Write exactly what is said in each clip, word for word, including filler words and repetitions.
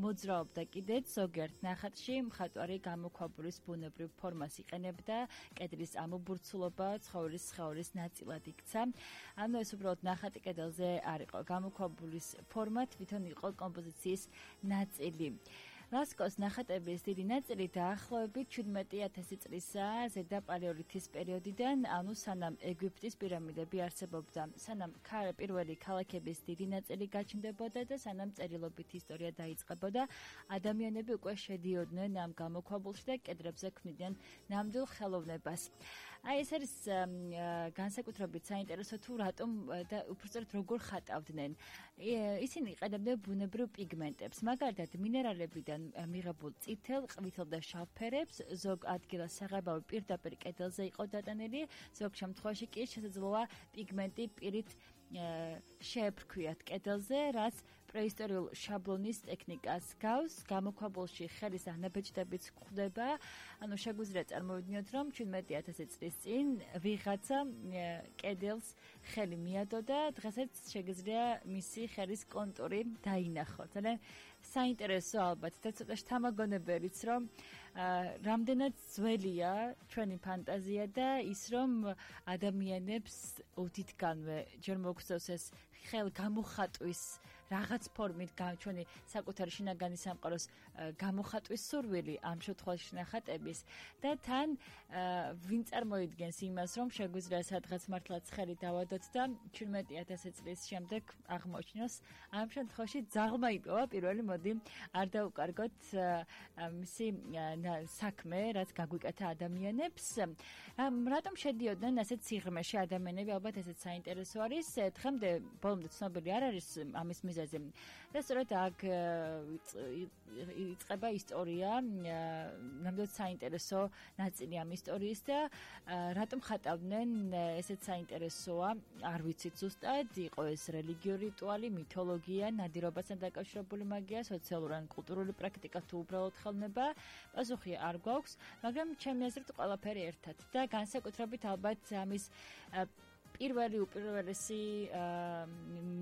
მოძრაობდა კიდეც ზოგიერთ ნახატში, მხატვარი გამოქვაბულის ბუნებრივ ფორმას იყენებდა, კედლის ამობურცულობა ცხოველის სხეულის ნაწილად იქცა. ანუ ეს უბრალოდ ნახატი კედელზე არ იყო, გამოქვაბულის ფორმა თვითონ იყო კომპოზიციის ნაწილი. ლასკოს ნახატების დიდი ნაწილი დაახლოებით შვიდმეტი ათასი წლისაა ზედა პალეოლითის პერიოდიდან, ანუ სანამ ეგვიპტის პირამიდები არსებობდა, სანამ პირველი ქალაქების დიდი ნაწილი გაჩნდებოდა და სანამ წერილობით ისტორია დაიწყებოდა, ადამიანები უკვე შედიოდნენ ამ გამოქვაბულში და კედლებზე ქმნიდნენ ნამდვილ ხელოვნებას. აი ეს არის განსაკუთრებით საინტერესო თუ რატომ და უბრალოდ როგორ ხატავდნენ. ისინი იყენებდნენ ბუნებრივ პიგმენტებს, მაგალითად მინერალებიდან მიღებულ წითელ, ყვითელ და შავ ფერებს, ზოგ ადგილას საღებავი პირდაპირ კედელზე იყო დატანილი, ზოგ შემთხვევაში კი შესაძლოა პიგმენტი პირით შეეფრქვიათ კედელზე, რაც პრეისტორიულ შაბლონის ტექნიკას გავს, გამოქვაბულში ხელის ანაბეჭდებიც გვხვდება, ანუ შეგვიძლია წარმოვიდგინოთ, რომ შვიდმეტი ათასი წლის წინ ვიღაცა კედელს ხელი მიადო და დღესაც შეგიძლია მისი ხელის კონტური დაინახოთ. ძალიან საინტერესო ალბათ და ცოტა შთამაგონებელიც, რომ რამდენად ძველია ჩვენი ფანტაზია და ის, რომ ადამიანებს უდიდგანვე ჯერ მოგწევს ეს ხელ გამოხატვის რაღაც ფორმით ჩვენი საკუთარი შინაგანი სამყაროს გამოხატვის სურვილი ამ შემთხვევაში ნახატების და თან ვინ წარმოიდგენს იმას, რომ შეგვიძლია სადღაც მართლაც ხელი დავადოთ და შვიდმეტი ათასი წლის შემდეგ აღმოჩნოს ამ შემთხვევაში ძაღლმა იპოვა პირველი მოდი არ დაუკარგოთ მისი საქმე, რაც გაგვიკეთა ადამიანებს. რატომ შედიოდნენ ასეთ სიღრმეში ადამიანები, ალბათ ესეც საინტერესო არის. დღემდე ბოლომდე ცნობილი არ არის ამის მიზეზი. და სწორედ აქ იწყება ისტორია, ნამდვილად საინტერესო ნაწილი ამ ისტორიის და რატომ ხატავდნენ ესეც საინტერესოა, არ ვიცით ზუსტად, იყო ეს რელიგიური რიტუალი, მითოლოგია, ნადირობასთან დაკავშირებული მაგია, სოციალური ან კულტურული პრაქტიკა თუ უბრალოდ ხელოვნება, პასუხი არ გვაქვს, მაგრამ ჩემი აზრით ყველაფერი ერთად და განსაკუთრებით ალბათ ამის პირველი უპირველესი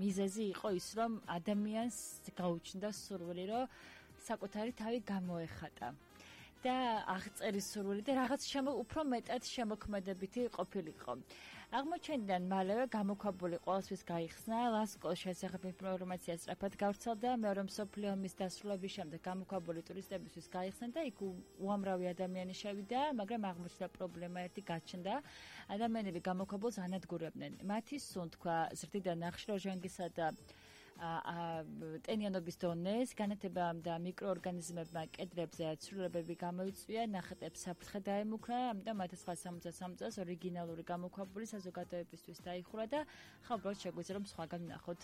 მიზეზი იყო ის, რომ ადამიანს გაუჩნდა სურვილი, რომ საკუთარი თავი გამოეხატა და აღწერის სურვილი და რაღაც უფრო მეტად შემოქმედებითი ყოფილიყო. აღმოჩენიდან მალევე გამოქვაბული ყოველთვის გაიხსნა, ლასკოს შესახებ ინფორმაცია სწრაფად გავრცელდა, მეორე მსოფლიო ომის დასრულების შემდეგ გამოქვაბული ტურისტებისთვის გაიხსნა და იქ უამრავი ადამიანი შევიდა, მაგრამ აღმოჩნდა პრობლემა ერთი გაჩნდა. ადამიანები გამოქვაბულს ანადგურებდნენ. მათი სუნთქვა ზრდიდა ნახშირორჟანგისა და ტენიანობის დონეს, განათებამ და მიკროორგანიზმებმა კედლებზე ცვლილებები გამოიწვია, ნახატებს საფრთხე დაემუქრა, ამიტომ ათას ცხრაასა სამოცდასამ წელს ორიგინალური გამოქვაბული საზოგადოებისთვის დაიხურა და ხა უბრალოდ შეგვიძლია რომ სხვაგან ვნახოთ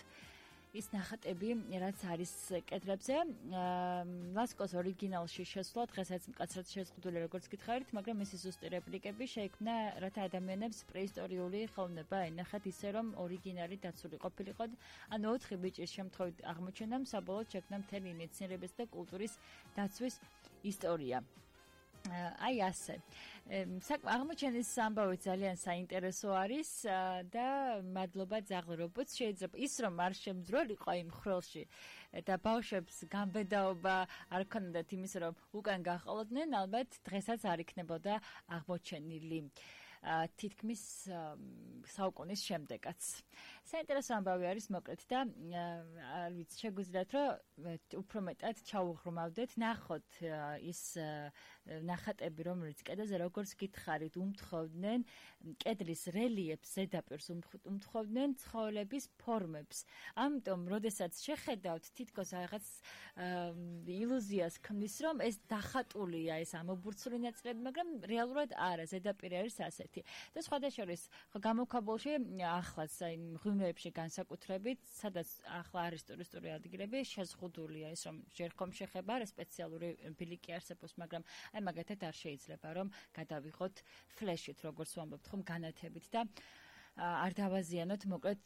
ის ნახატები, რაც არის კედლებზე. ლასკოს ორიგინალში შესვლა დღესაც მკაცრად შეზღუდული, როგორც გითხარით, მაგრამ მისი ზუსტი რეპლიკები შეიქმნა, რათა ადამიანებს პრეისტორიული ხელოვნება ენახათ ისე, რომ ორიგინალი დაცული ყოფილიყო. ანუ ოთხი ბიჭის შემთხვევით აღმოჩენამ საბოლოოდ შექმნა მთელი მეცნიერების და კულტურის დაცვის ისტორია. აი ასე. აღმოჩენის ამბავი ძალიან საინტერესო არის და მადლობა ძაღლ რობოტს. შეიძლება ის რომ არ შემძროლიყო იმ ხროლში და ბავშვებს გამბედაობა არ ქონდათ იმის რომ უკან გაყოლოდნენ, ალბათ დღესაც არ იქნებოდა აღმოჩენილი. თითქმის საუკუნის შემდეგაც. საინტერესო ამბავი არის მოკლედ და არ ვიცი, შეგვიძლიათ რომ უფრო მეტად ჩაუღრმავდეთ, ნახოთ ის ნახატები, რომელიც კედელზე როგორც გითხარით, უმთხოვდნენ კედლის რელიეფს, ზედაპირს უმთხოვდნენ ცხოველების ფორმებს. ამიტომ, როდესაც შეხედავთ, თითქოს რაღაც ილუზიას ქმნის, რომ ეს დახატულია, ეს ამობურცული ნაწილები, მაგრამ რეალურად არა, ზედაპირი არის ასეთი. და სხვადასხვა გამოქვაბულში ახლაც აი მღვიმეებში განსაკუთრებით, სადაც ახლა არის ტურისტული ადგილები, შეზღუდულია ის, რომ ჯერ ხომ შეხება, რა სპეციალური ბილიკი არსებობს, მაგრამ აი მაგათად არ შეიძლება, რომ გადავიღოთ ფლეშით, როგორც ვამბობთ, ხომ განათებით და არ დავაზიანოთ, მოკლედ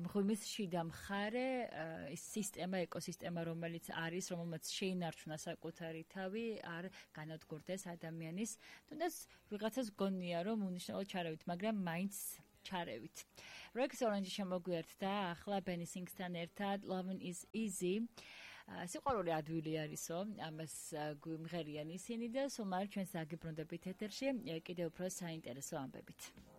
მღვიმის შიდა მხარე, ის სისტემა, ეკოსისტემა, რომელიც არის, რომელმაც შეინარჩუნა საკუთარი თავი, არ განადგურდეს ადამიანის. თუნდაც ვიღაცას გონია, რომ უნიშნელო ჩარავით, მაგრამ მაინც ჩარევით. Rex Orange შემოგვიერთდა ახლა Benny Sings-თან ერთად Lovin' is Easy. სიყვარული ადვილი არისო, ამას გვიმღერიან ისინი და სულ მალე ჩვენს აგიბრუნდებით ეთერში კიდევ უფრო საინტერესო ამბებით.